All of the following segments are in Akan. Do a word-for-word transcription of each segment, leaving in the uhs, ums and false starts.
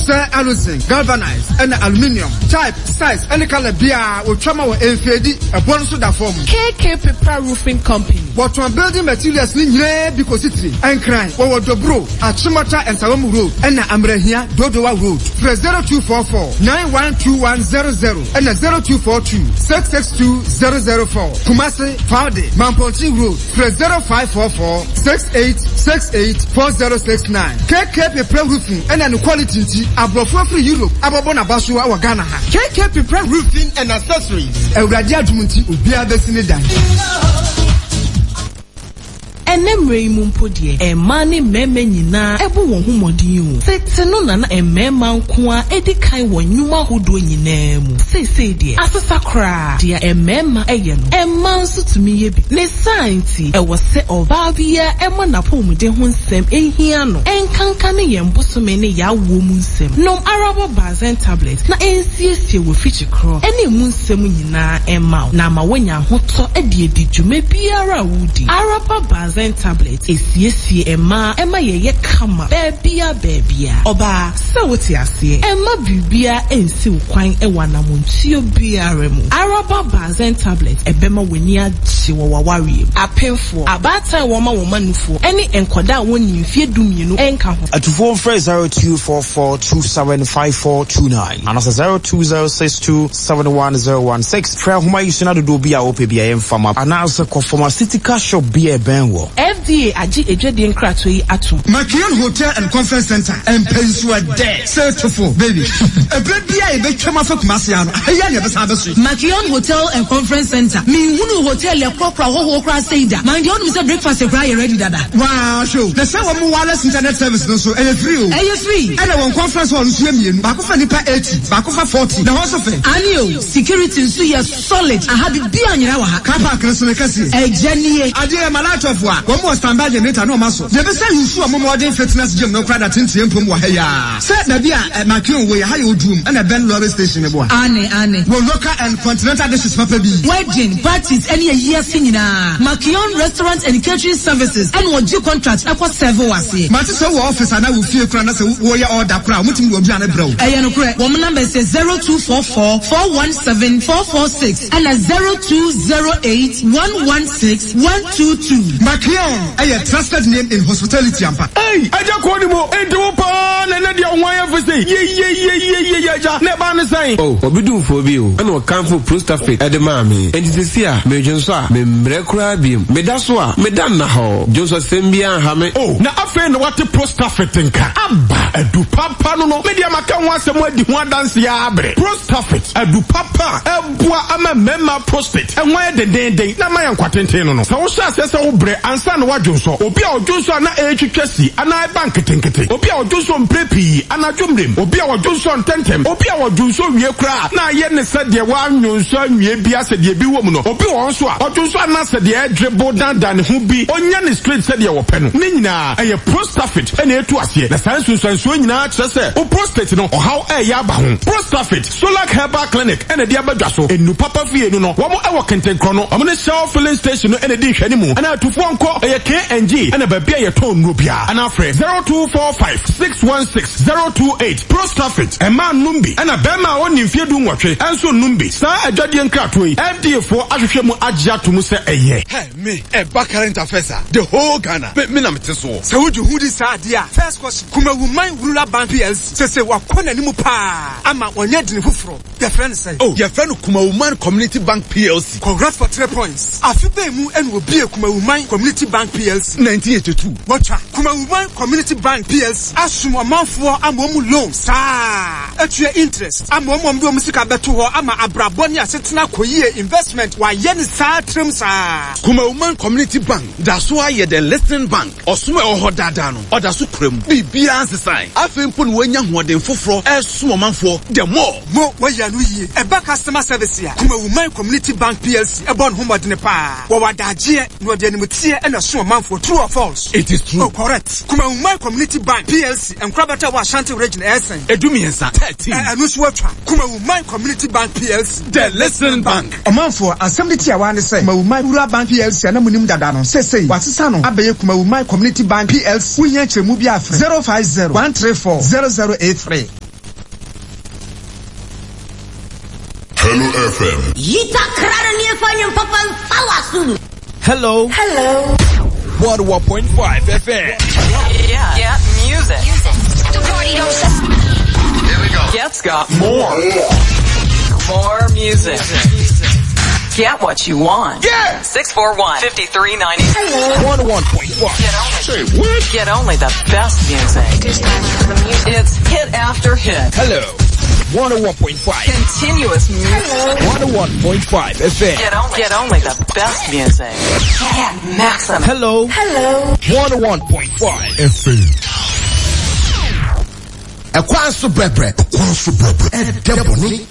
Sɛ aluzinc, galvanized, ɛna aluminium, type, size, ɛne colour biara wɔtwa ma wɔ mfeedi, ɛbɔ no nso da fam. K K Pepra Roofing Company. Wɔtɔn building materials ne nyinaa bi kɔsi tiri. Ɛnkran, wɔwɔ Dobro, Achimota Nsawam Road, ɛna Amrahia, Dodowa Road. Frɛ zero two four four nine one two one zero zero ɛna zero two four two six six two zero zero four. Kumasi, Faude, Mampontin Road. Frɛ zero five four four six eight six eight four zero six nine. K K Pepra Roofing ɛna ne quality nti, aborɔfo afiri Europe abɔbɔ n'aba so wɔ Ghana ha. K K Pepra Roofing and Accessories. Awurade adum nti, obiara bɛsi ne dan. Ɛnɛ mmerɛ yi mu mpo deɛ, mmaa ne mmarima nyinaa ɛbɔ wɔn ho mmɔden o. Tete no nana mmarima nko a edi kan wɔ nnwuma ahodoɔ nyinaa mu. Seesei deɛ, asesa koraa. Deɛ mmarima ɛyɛ no, mmaa nso tumi yɛ bi. Ne saa nti, ɛwɔ sɛ ɔbaa biara ɛma n'apɔmuden ho nsɛm ehia no, ɛnkanka ne yɛn bosome ne yɛawoɔ mu nsɛm. Nom Araba Bazen tablet na ɛnsiesie wɔ fikyi korɔ ɛne emu nsɛm nyinaa ɛma wo na ama woanya ahotɔ ɛde adi dwuma biara a wodi. Araba Bazen tablet esiesie mmaa, ɛma yɛyɛ kama baabia baabia. Ɔbaa, sɛ wote aseɛ, ɛma biribiara ɛnsi wo kwan ɛwɔ anamontuo biara mu. Araba Bazen tablet ɛbɛma w'ani agye wɔ w'awareɛ mu. Apemfoɔ, abaatan a wɔma wɔn manufoɔ, ɛne nkɔdaa a wɔnni mfeɛ du mmienu ɛnka ho. Atufoɔ, mfrɛ zero two four four two seven five four two nine anaasɛ zero two zero six two seven one zero one six. Frɛ ahoma yi so na dodoɔ bi a wopɛ bi a yɛmfa ma, anaasɛ kɔ pharmaceutical shop bi a ɛbɛn wɔ. F D A agye adwadie nkratoɔ yi atom. Makion Hotel and Conference Center, mpɛnsuo dɛ sɛ tofo baby, ɛberɛ bi a yɛbɛtwam afa Kumase ano ɛyɛ ne yɛbɛsan bɛso. Makion Hotel and Conference Center, menhunu hotel ɛkorɔkorɔ ahɔhoɔ koraa sei da. Man deɛ, wonim sɛ breakfast koraa yɛ ready dada. Waa hwɛ o, na sɛ wɔn mo wireless internet service no nso ɛyɛ free o. Ɛyɛ free. Ɛna wɔn conference hall nso yɛ mmienu, baako fa nipa eighty, baako fa forty, na hɔ nso fɛ. Ane o, security nso yɛ solid. Aha bibia nyina wɔ ha. Car park no so ne kɛseɛ. Ɛgya nie. Adeɛ yɛ malatɔfo a wɔn wɔ standby generator ne wɔn aso yɛbɛsɛ yusu wɔn modern fitness gym no koraa da tenten mpom wɔ ha yi a sɛ baabi a Makion wɔ yɛ ha yɛ Oduom, ɛna ɛbɛn lorry station ne boa. Ane ane. Wɔ local and continental dishes papa bi. Wedding parties ɛne ayi ase nyinaa, Makion Restaurant and Catering Services ɛna ɔgye contract ɛkɔ serve wɔ aseɛ. Mate sɛ wɔ office anaa wɔ fie koraa na sɛ wɔyɛ order koraa, wɔtumi de wɔn aduane brɛ wo. Ɛyɛ nokorɛ. Wɔn number sɛ zero two four four four one seven four four six ɛna zero two zero eight one one six one two two. Makion ɛyɛ trusted name in hospitality ampa. Ei, agya kɔɔ ne mu, enti wo paa na ɛnɛ deɛ wo ho ayɛ fɛ sei. Yeyeyeyeye, agya, na ɛbaa ne sɛn? O obi dumfoɔ bi o, ɛna ɔkamfo Prostafit ɛde maa me. Enti sisi a medwonsɔ a, memmerɛ koraa biom. Meda so a, meda nna hɔ. Dwonsɔ sɛm biara nha me. O, na afei na wate Prostafit nka aba adu papa no no medeɛ maka ho asɛm adi ho adanseɛ abrɛ. Prostafit adu papa a ɛboa ama mmarima prostate ɛho ayɛ dendenden na ama yɛ nkwatenten no no sɛ wohyɛ aseɛ sɛ wobrɛ ansa na woadwonsɔ, obi a ɔdwonsɔ a na ɛretwitwa si anaa ɛba nketenkete, obi a ɔdwonsɔ mprɛ pii anadwo mmerɛm, obi a ɔdwonsɔ ntɛntɛm, obi a ɔdwonsɔ wie koraa na ayɛ ne sɛ deɛ woanwonsɔ anwie bi asɛ deɛ bi wɔ mu no, obi wɔ hɔ nso a ɔdwonsɔ anaa sɛ deɛ ɛdwebo dandan ne ho bi, ɔnya ne straight sɛdeɛ wɔpɛ no, ne nyinaa ɛyɛ Prostafit ɛna ɛtu aseɛ. Na saa nsunsuansoɔ nyinaa kyerɛ sɛ wo prostate no ɔhaw ɛyɛ aba ho. Prostafit, Solar Herbal Clinic ɛna ɛde abadwa so enu papa fie no no wɔn ɛwɔ Kentenkorɔ no, wɔn ne Shell filling station no ɛna ɛdi nhwɛne mu, ɛna atufoɔ nkɔ ɛyɛ K N G ɛna baabi a yɛtɔn nnuro biara, ɛna afrɛ zero two four five six one six zero two eight. Prostafit, ɛmaa nnum bi, ɛna bɛrima a ɔnni mfeɛ du nwɔtwe ɛnso nnum bi. Saa adwadeɛ nkratoɔ yi, F D A foɔ ahwehwɛ mu agye ato mu sɛ ɛyɛ. Hey, me ɛba current affairs a, the whole Ghana, me me na mete soɔ. Sɛ wogye ho di saa adeɛ a, first question: Kumawuman Rural Bank P L C sese wakɔ n'anim paa ama wɔnyɛ dini foforɔ, yɛfrɛ no sɛn? Oh, yɛfrɛ no Kumawuman Community Bank P L C. Congrats for three points. Afe bɛn mu ɛna obie Kumawuman Community Bank P L C? nineteen eighty-two. Wɔtwa Kumawuman Community Bank P L C asom ɔmanfoɔ ama ɔmu loan saa, atua interest ama ɔmu, ɔmo de ɔmo sika bɛto hɔ ama abrabɔ ne asetena kɔ yie, investment wayɛ ne saa tirim saa. Kumawuman Community Bank da so ayɛ the listening bank. Ɔsom a ɛwɔ hɔ daadaa no, ɔda so kura mu. Biribiara nsesan. Afei mpo na wɔanya ahoɔden foforɔ ɛresom ɔmanfoɔ the more. Mo wɔyɛ no yie. Ɛba customer service a, Kumawuman Community Bank P L C ɛbɔ ne ho mmɔdene paa. Wɔwɔ adagyeɛ na wɔde animteɛ ɛna so ɔmanfoɔ. True or false? It is true. Oh, correct. Kumawuman Community Bank P L C nkorabata wɔ Ashanti Region ɛsɛn? Edu mmiɛnsa, thirteen. Ɛno nso atwa. Kumawuman Community Bank P L C. The listening bank. Ɔmanfoɔ, asɛm de tiawa ne sɛ Kumawuman Rural Bank P L C a na munim dada no, sesei wasesa no abɛyɛ Kumawuman Community Bank P L C. Wohia nkyerɛmu bi afrɛ zero five zero one three four zero zero eight three. F M. Yita Hello. Hello. one oh one point five F M. Yeah. Yeah. Music. Music. The party don't stop. Here we go. Get's got more. More music. Get what you want. Yeah. six four one, five three nine zero. Hello. one oh one point five. Get only, Say what? Get only the best music. It is time for the music. It's hit after hit. Hello. one oh one point five. Continuous music. Hello. one oh one point five F M. Get only, get only the best music. Get maximum. Hello. Hello. one oh one point five F M. Ekwan brebre. Ekwan brebre. Edeboni.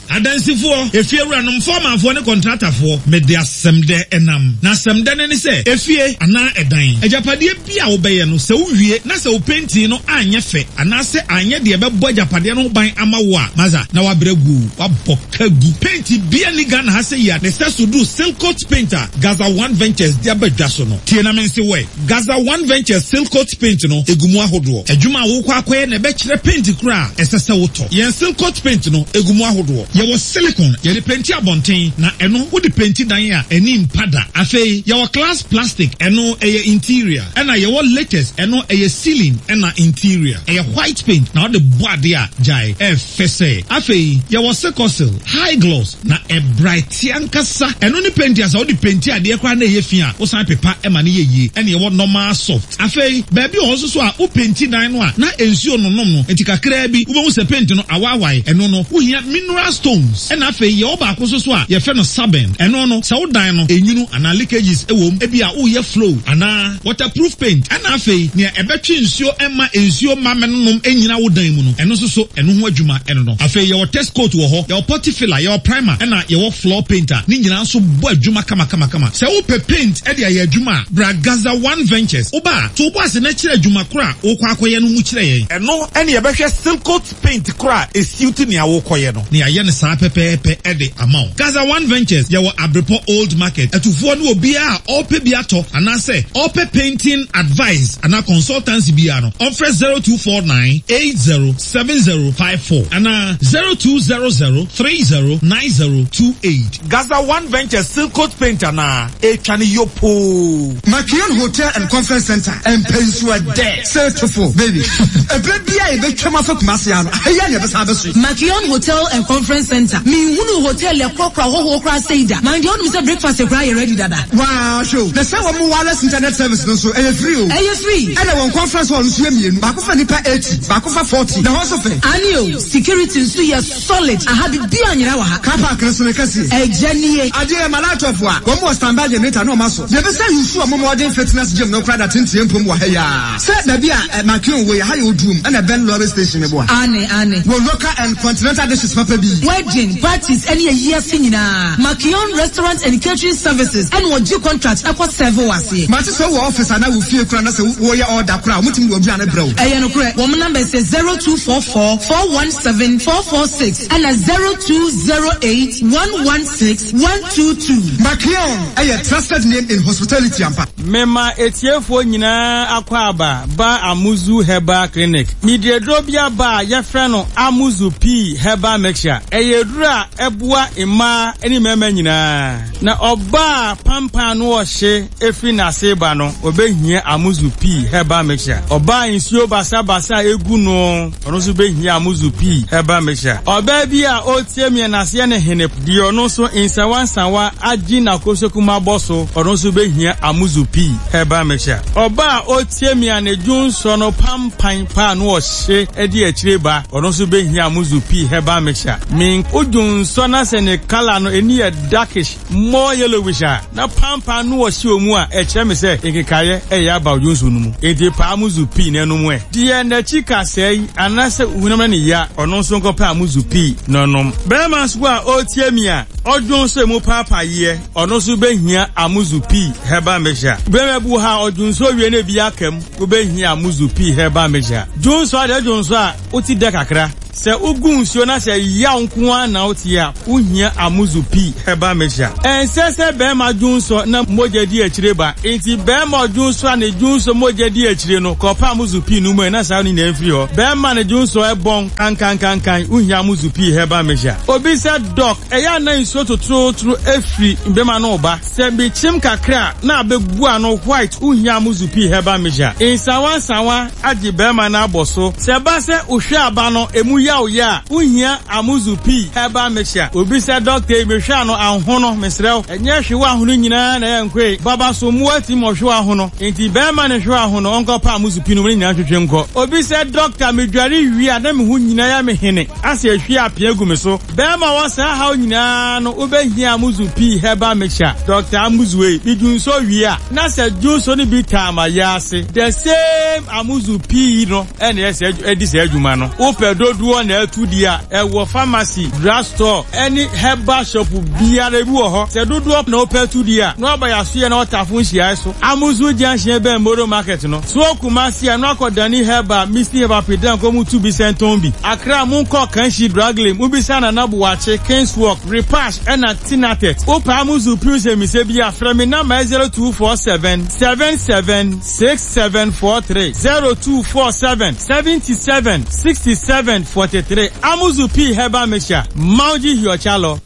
Adansifoɔ, efie wuranom, fɔmanfoɔ ne kɔntratafoɔ, mede asɛm dɛ ɛnam. Na asɛm dɛ ne ne sɛ, efie anaa ɛdan. Agyapadeɛ bi a wobɛyɛ no, sɛ wowie na sɛ wo painting no anyɛ fɛ, anaasɛ anyɛ deɛ ɛbɛbɔ agyapadeɛ no ho ban ama wo a, maza, na wabrɛ gu, wabɔ ka gu. Paint bia ni Ghana ha sɛ yi a, ne sɛ so duru Silcoat paint a Gaza One Ventures de aba dwa so no. Tie na me nse wɛ. Gaza One Ventures Silcoat paint no, egu mu ahodoɔ. Adwuma a wokɔ akɔyɛ na ɛbɛkyerɛ paint kora a, ɛsɛ sɛ wotɔ. Yɛn Silcoat paint no, egu mu ahodoɔ. Yɛwɔ silicone, yɛde penti abɔnten, na ɛno wode penti dan a ɛni mpa da. Afei, yɛwɔ glass plastic, ɛno ɛyɛ interior. Ɛna yɛwɔ latex, ɛno ɛyɛ ceiling, ɛna interior. Ɛyɛ white paint, na wode bɔ ade a gyae, ɛfɛ sɛ. Afei, yɛwɔ Secosil, high gloss, na ɛbright ankasa. Ɛno ne penti a sɛ wode penti adeɛ koraa na ɛyɛ fi a, wosan pepa ɛma ne yɛ yie. Ɛna yɛwɔ normal soft. Afei, baabi wɔ hɔ nso so a, wo penti dan no a, na nsuo nonom no, nti kakraa bi, wobɛhu sɛ paint no awaawae. Ɛno no, wohia mineral stones. Ɛna afei, yɛwɔ baako nso so a, yɛfrɛ no sabin. Ɛno no, sɛ wo dan no, enwunu anaa leakages ɛwɔ mu, ebi a woyɛ flow anaa waterproof paint. Ɛna afei, nea ɛbɛtwe nsuo ɛma nsuo ma mɛnonom ɛnyina wo dan mu no, ɛno nso so, ɛno ho adwuma ɛno no. Afei, yɛwɔ test coat wɔ hɔ, yɛwɔ putty filler, yɛwɔ primer, ɛna yɛwɔ floor painter. Ne nyinaa nso bɔ adwuma kama kama kama. Sɛ wopɛ paint ɛde ayɛ adwuma a, bra Gaza One Ventures. Woba a, to wo bo ase na kyerɛ adwuma koro a wokɔ akɔyɛ no mu kyerɛ yɛn. Ɛno ɛne yɛbɛhwɛ Silcoat paint koro a esiw nea wokɔyɛ no. Ne yɛayɛ no saa pɛpɛɛpɛ ɛde ama wo. Gaza One Ventures yɛwɔ Abrepɔ Old Market. Atufoɔ ne obiara a ɔpɛ bi atɔ anaasɛ ɔpɛ painting advice anaa consultancy biara no, ɔmfrɛ zero two four nine eight zero seven zero five four anaa zero two zero zero three zero nine zero two eight. Gaza One Ventures Silcoat paint anaa etwa ne yopo. Makion Hotel and Conference Center Mpensua de Setofo baby. Ebere bia e betwa mafa Kumasi ano. Heya ne besa abeso. Makion Hotel and Conference Center. Mi hunu hotel e krokra hoho kra seida. Man de onu se breakfast e kra ye ready dada. Wow, show. Na se wo mo wireless internet service no so e free o. E free. E na won conference hall so ye mienu. Baako fa nipa eighty, baako fa forty. Na ho so fe. Ani o, security nso ye solid. Aha bi anyira wa ha. Car park no so ne kase. E genie. Ade e malatofo a. Wo mo standby generator no ma so. Ye be say you so mo modern fitness gym no kra da tintie mpom wa ha ya. Se ba bi a Makion wo ya ha ye odum na Ben lorry station ne boa. Ane ane. Wo local and continental dishes papa bi. Wedding parties any year nyinaa. Makion Restaurant and Catering Services and wo G contract ekɔ serve wase. Mate so wo office ana wo fie kra na se wo ye order kra mutim wo aduane brɛ wo. Eye no kra. Wo number is zero two four four four one seven four four six and zero two zero eight one one six one two two. Makion, a trusted name in hospitality ampa. Mema etiefo nyina akwa aba ba Amuzu Herbal Clinic. Midiedro bia ba yefrɛ no Amuzu P Herbal Mixture. Eyedru a eboa mma eni mema nyina. Na oba pampan no ohye efiri na seba no obehia Amuzu P Herbal Mixture. Oba nsuo basa basa egu no ono so behia Amuzu P Herbal Mixture. Oba bi a otie me na se ne hene di ono so nsawansawa agi na kosokuma boso ono so behia Amuzu P Herbal Mixture. Oba otie me na dwonso no pampan pa no ohye edi akire ba ono so behia Amuzu P Herbal Mixture. Min odwonso na se ne color no eni ye darkish more yellowish na pampan no ohye omu a e kire me se nkekaye e ya ba odwonso no mu enti pa Amuzu P na no mu e die na chika sei anase hunam ne ya ono so nkopa Amuzu P no nom Brahma so a otie mi a odwonso mu papa ye ono so behia Amuzu P Herbal Mixture. Brahma bu ha odwonso wie na bi akam obehia Amuzu P Herbal Mixture. Dwonso ade dwonso a oti de kakra Sɛ wogu nsuo na sɛ yaw nko ara na wote a, wohia Amuzu Pii Herbal Mixture. Ɛnsɛ sɛ barima dwonsɔ na mogya di akyire ba. Enti barima ɔdwonsɔ a ne dwonsɔ mogya di akyire no, kɔpɛ Amuzu Pii no mu ɛ na saa no nyinaa mfiri hɔ. Barima ne dwonsɔ ɛbɔn kankankankan, wohia Amuzu Pii Herbal Mixture. Obi sɛ, Doc, ɛyɛ a na nsuo totorotoro firi bɛma no ba. Sɛ mekyim kakra a, na abɛgu ano white, wohia Amuzu Pii Herbal Mixture. Nsawa nsawa agye bɛrima no abɔ so. Sɛ ɛba sɛ wohwɛ aba no, emu yaw yɛ a, wohia Amuzu Pii Herbal Mixture. Obi sɛ, Doctor yi, mehwɛ ano ahono, mesrɛ wo. Ɛnyɛ hwewa ahono nyinaa na ɛyɛ nkoe. Baba so mmoa tim ɔhwewa ahono. Enti bɛrima ne hwewa ahono, ɔnkɔpa Amuzu Pii no mu ne nyinaa nhwehwɛ nkɔ. Obi sɛ, Doctor, medware wie a, na me ho nyinaa yɛ me hene, asɛ ehwie apea gu me so. Bɛrima wɔ saa haw nyinaa no, wobɛhia Amuzu Pii Herbal Mixture. Doctor Amuzu ei, medwonsɔ wie a, na sɛ dwonsɔ no bi taa ma yɛ ase. The same Amuzu Pii no ɛna ɛsɛ ɛdi saa adwuma no. Wopɛ dodoɔ na ɛtu di a, ɛwɔ pharmacy, drugstore, ɛne herbal shop biara bi wɔ hɔ. Sɛ dodoɔ na wopɛ tu di a, na waba yɛasoɛ na wɔtafo nhyiae so. Amuzu Junction bɛn Moro Market no. So Kumasi a, na wakɔ Dani Herbal, Misty Herbal Pedan kɔ mu tu bi sɛntɔn bi. Accra mu nkɔ Kanshi Drug Lane, mubisa Nana Buakye, Kings Walk, Repash ɛna Tinatet. Wopɛ Amuzu Pii sɛ mise bi a, frɛ me number zero two four seven seven seven six seven four three, zero two four seven seventy-seven sixty-seven forty-three. Amuzu Pii Herbal Mixture. Mauji Hiochalo.